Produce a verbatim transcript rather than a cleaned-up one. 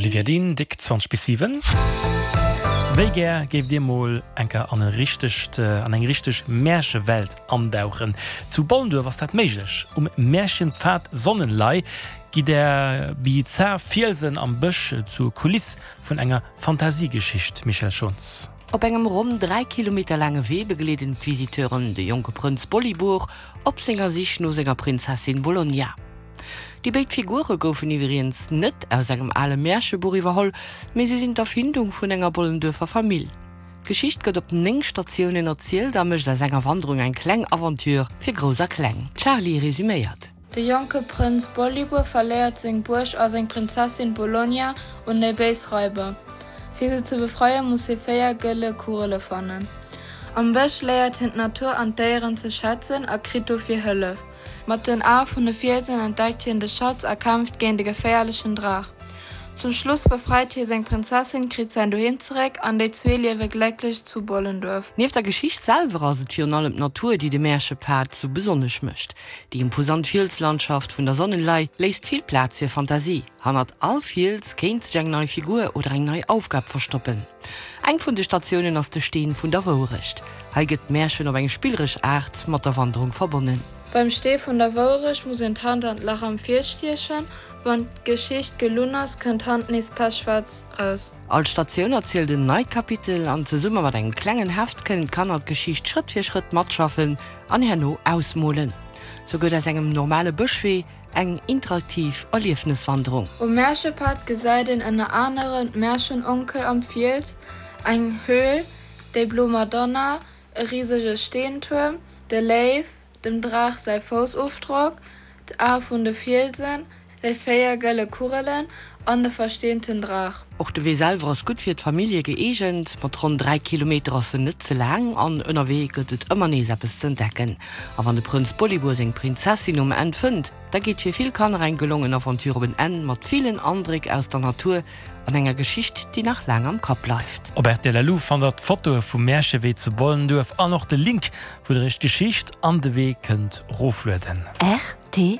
Olivia Dehn, déck zwanzeg bis siwen. Wéi gär géift Dir mol eng Kéier an e richtegt, an eng richteg Märchewelt andauchen? Zu Bollenduerf ass dat méiglech. Um Märchenpfad Sonnenlay gi der bizar Fielsen am Bësch zur Kuliss vun enger Fantasiegeschicht, Michèle Schons. Op engem ronn dräi Kilometer laange Wee begleeden d'Visiteuren de jonke Prënz Bolibor op senger Sich no senger Prinzessin Bologna. Déi béid Figure goufen iwwregens net aus engem ale Märchebuch iwwerholl, mee si sinn d'Erfindung vun enger Bollenduerfer Famill. D'Geschicht gëtt op néng Statiounen erzielt a mécht aus enger Wanderung eng kleng Aventure fir Grouss a Kleng. D'Charlie resuméiert. De jonke Prënz Bolibor verléiert seng Buerg a seng Prinzessin Bologna un déi béis Raiber. Fir se ze befreien, muss hie véier gëlle Kugele fannen. Am Bësch léiert hien d'Natur an d'Déieren ze schätzen a kritt dofir Hëllef. Mat den Ae vun de Fielsen entdeckt hien de Schatz a kämpft géint e geféierlechen Draach. Zum Schluss befreit hie seng Prinzessin, kritt säin Doheem zeréck an déi zwee liewe glécklech zu Bollenduerf. Nieft der Geschicht selwer ass et virun allem d'Natur, déi de Märchepfad sou besonnesch mécht. Déi imposant Fielslandschaft vun der Sonnenlay léisst vill Plaz fir Fantasie. Hannert all Fiels kéint sech eng nei Figur oder eng nei Aufgab verstoppen. Eng vun de Statiounen ass de Steen vun der Wouerecht. Hei gëtt d'Märchen op eng spilleresch Aart mat der Wanderung verbonnen. Beim Stee vun der Wouerecht muss een d'Hand an d'Lach am Fiels stiechen. Wann d'Geschicht gelunn ass, kënnt d'Hand nees pechschwaarz raus. All Statioun erzielt en neit Kapitel an zesumme mat engem klengen Heft kënnen d'Kanner d'Geschicht Schrëtt fir Schrëtt matschaffen an herno ausmolen. Sou gëtt aus engem normale Bëschwee eng interaktiv Erliefneswanderung. Um Märchepad gesäit een ënner anerem d'Märchenonkel am Fiels, eng Höhl, déi blo Madonna, e risege Steentuerm, de Léiw, dem Draach säi Foussofdrock, d'Ae vun de Fielsen, déi véier gëlle Kugelen an de versteenten Draach. Och de Wee selwer ass gutt fir d'Famillje gëeegent. Mat ronn dräi Kilometer ass en net ze laang an ënnerwee gëtt et ëmmer nees eppes z'entdecken. A wann de Prënz Bolibor seng Prinzessin um Enn fënnt, da geet fir vill Kanner eng gelongen Aventure op en Enn mat villen Andréck aus der Natur an enger Geschicht, déi nach laang am Kapp bleift. Op rtl Lu fannt der d'Fotoe vum Märchewee zu Bollenduerf an och de Link, wou der iech d'Geschicht an de Wee kënnt roflueden. Rtl.